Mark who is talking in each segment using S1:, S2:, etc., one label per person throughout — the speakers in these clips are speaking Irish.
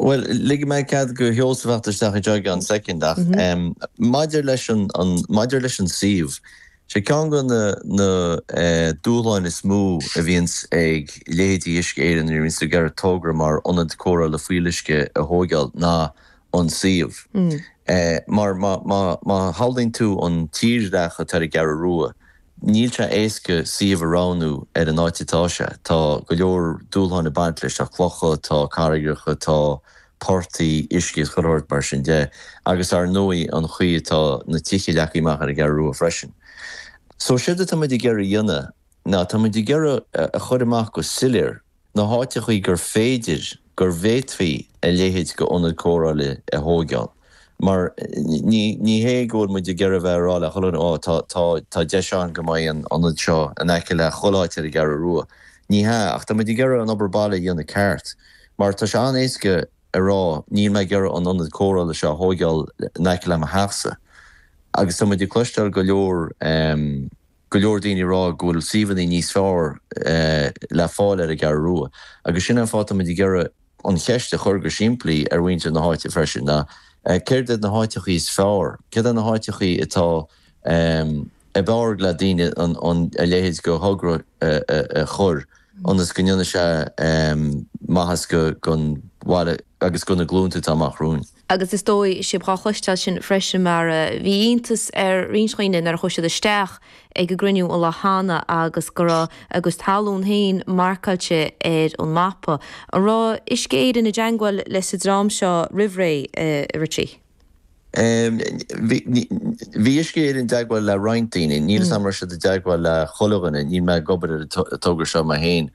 S1: Bhuel, ligfidh mé cead go Sheosamh theacht isteach anseo i gceann soicind ach maidir leis an, maidir leis an suíomh, sé ceann de na, na dúshláin is mó a bhíonns ag leithéidí Uisce Éireann nuair a bhíonns ag iarraidh togra mar ionad cóireála fuíolluisce a thóigeáil ná an suíomh. Mar má, má, má shamhlaíonn tú an tírdhreach atá ar an gCeathrú Rua, Níl sé éasca suíomh a roghnú ar an áit atá sé. Tá go leor dúshláin ag baint leis, tá clocha, tá carraigreacha, tá portaigh, uisce is chuile shórt mar sin de agus ar ndóigh an chaoi atá na tithe leagtha amach ar an gCeathrú Rua freisin. So séard atá muid ag iarraidh a dhéanamh ná tá muid ag iarraidh a chur amach go soiléir na háiteachaí gur féidir, gur bhféadfaí a leithéid go ionad cóireála a thóigeáil. Mar ní, ní hé go bhfuil muid ag iarraidh a bheith ag rá le chuile dhuine, ó tá, tá, tá deis ann go mbeidh an ionad seo in aice le chuile áit ar an gCeathrú Rua. Ní hea, ach tá muid ag iarraidh an obair baile a dhéanamh ceart. Mar tá sé an-éasca a rá, níl mé ag iarraidh an ionad cóireála seo a thóigeáil in aice le mo theachsa. Agus tá muid ag cloisteáil go leor, go leor daoine ag rá go bhfuil suíomhanna níos fearr le fáil ar an gCeathrú Rua agus sin an fáth tá muid ag iarraidh an cheist a chur go simplí ar mhuintir na háite freisin ná céard iad na háiteachaí is fearr, céard iad na háiteachaí atá ab fhearr le daoine an a leithéid go thogra a chur ionas go ndéanfaidh sé maitheas don bhaile agus do na glúnta atá amach romhainn.
S2: Agus is dóigh sibh dhá chloisteáil sin freisin mar bhí iontas ar roinnt dhaoine nuair a chuaigh siad isteach ag an gcruinniú an lá cheana agus go raibh a gcuid talún féin marcáilte ar an mapa. An raibh Uisce Éireann i dteangmháil leis an dream seo roimh ré, a Richie?
S1: Bhí Uisce Éireann i dteagmháil le roinnt daoine. Níl 'fhios a'm an raibh siad i dteagmháil le chuile dhuine, níl mé ag obair ar an togra seo mé féin.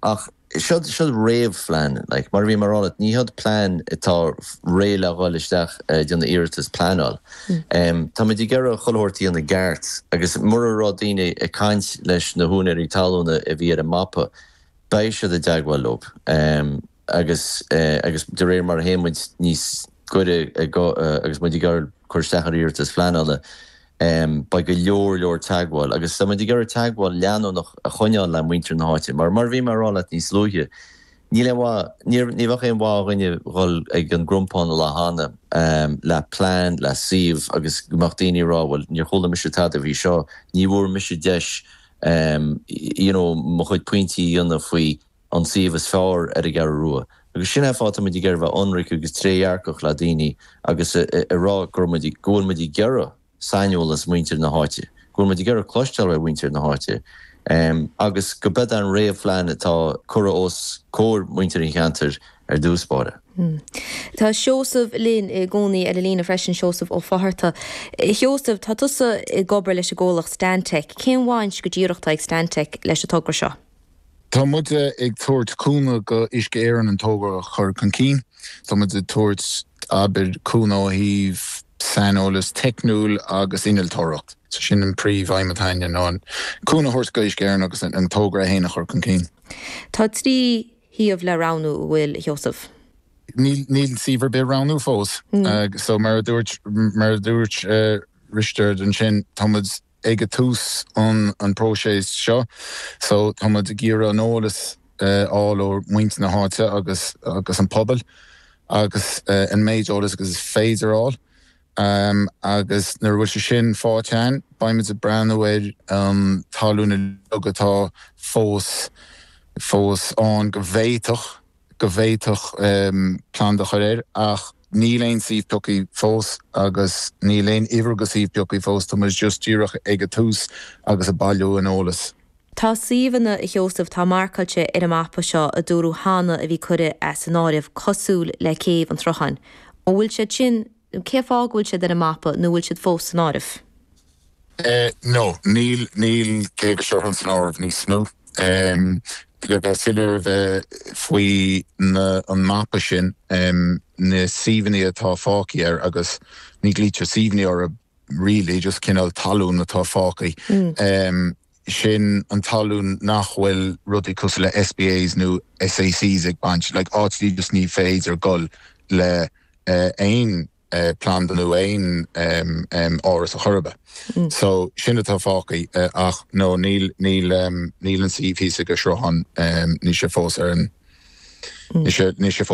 S1: Ach Seod, seod réamhphlean, like, mar a bhí mé a rá leat, ní hiod plean atá réidh le dhul isteach ag déanamh iarratas pleanáil. Tá muid ag iarraidh chuile shórt a dhéanamh i gceart agus mura raibh daoine ag caint leis na húinéirí talúna a bhí ar an mapa, beidh siad i dteagmháil leo. Agus, agus de réir mar a théann muid níos gaire agus muid ag iarraidh cur isteach ar iarratas phleanála, Beidh go leor leor teagmháil agus tá muid ag iarraidh teagmháil leanúnach a choinneáil le muintir na háite mar, mar a bhí mé a rá leat níos luaithe, níl aon mhaith, ní bheadh aon mhaith do dhuine dhul ag an gcrompán an lá cheana le plean, le suíomh agus go mbeadh daoine ag rá bhuel níor chuala mise tada faoi seo, ní bhfuair mise deis you know mo chuid pointí a dhéanamh faoi an suíomh is fearr ar an gCeathrú Rua. Agus sin é an fáth tá muid ag iarraidh bheith ionraic agus trédhearcach le daoine agus a rá go raibh muid, go bhfuil muid ag iarraidh saineolas muintir na háite, go bhfuil muid ag iarraidh cloisteáil ó mhuintir na háite agus go b'eod an réamhphlean atá curtha os comhair muintir an cheantair ar dtús báire.
S2: Tá Seosamh linn i gcónaí ar an líne freisin, Seosamh Ó Fátharta. A Sheosaimh, tá tusa ag obair leis an gcomhlacht Stantec. Cén bhaint go díreach atá ag Stantec leis an togra seo?
S3: Tá muid ag tabhairt cúnamh go Uisce Éireann an togra a chur chun cinn. Tá muid ag tabhairt, abair, cúnamh ó thaobh saineolas teicniúil agus innealtóireacht. So sin an príomh aidhm atá againne ná an cúnamh a thabhairt go Uisce Éireann agus an togra é féin a chur chun cinn.
S2: Tá 3 shuíomh le roghnú, an bhfuil, a Sheosaimh?
S3: Níl, níl suíomh ar bith roghnú fós. So mar a dúirt, mar a dúirt Risteard ansin, tá muid ag a tús an próiseas seo so tá muid ag iarraidh an eolas a fháil ó muintir na háite agus agus an pobal agus an méid eolas agus is féidir a fháil agus nuair a bhfuil sé sin faighte againn beidh muid ag breathnú ar an talún uilig atá fós fós ann go bhféadfadh go bhféadfadh planda a chur air ach níl aon suíomh pioctha fós agus níl aon uimhir go suíomh pioctha fós, tá muid just díreach ag a tús agus ag bailiú an eolas.
S2: Tá suíomhanna, a Sheosaimh, atá marcáilte ar an mapa seo a dúradh cheana a bhí curtha as an áireamh, cosúil le Céibh an tSrutháin. An bhfuil siad sin, cén fáth go bhfuil siad ar an mapa nó an bhfuil siad fós san áireamh?
S3: No, níl, níl Céibh an tSrutháin san áireamh níos mó. Le bheith soiléir bheith faoi na, an mapa sin, na suíomhanna atá fágtha air agus ní ghlaoitear suíomhanna orthu really, just cineál talún atá fágtha. Sin an talún nach bhfuil rudaí cosúil le SPAs nó SACs ag baint, like áit just ní féidir dul le aon planda nó aon áras a chur ar bith. So sin atá fágtha ach no níl níl níl an suíomh thíos ag an sruthán níl sé fós ar an níl sé níl sé fós.